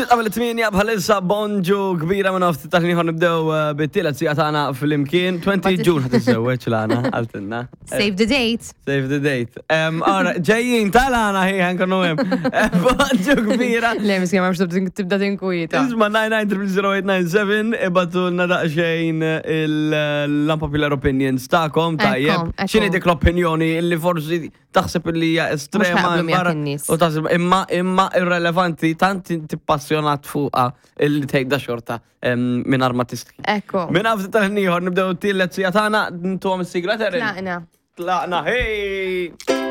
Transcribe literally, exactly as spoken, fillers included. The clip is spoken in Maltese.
Ftit qabel it-tmienja bħalissa, bonġu kbira, minn ftit tal-ieħor nibdew eh, bit-tielet siegħa tagħna flimkien. twenty June ħa tiżżewweġ Lana, qaltilna. Save the date. Save the date. Em, Ora, ġejjin tal-għana ħi ħankunu hemm. Eh, Bonġu kbira. Le, miskin, ma biex tibda tinkwieta. Isma, nine nine zero zero eight nine seven, ibagħtulna daqsxejn l-unpopular opinions tagħkom, tajjeb. Ekku, ekku. X'inhi dik l-opinjoni illi forsi taħseb li hija estrema Mhux ħa jaqblu miegħek barra- in-nies. U taħseb imma imma irrelevanti, tant inti passjonat fuqha illi tgħidha xorta minn armatisti. Ekku. Minn ftit tal-ieħor nibdew t-tielet siegħa tagħna, ntuhom is-sigla, Erin. Tlaqna. Tlaqna, hey!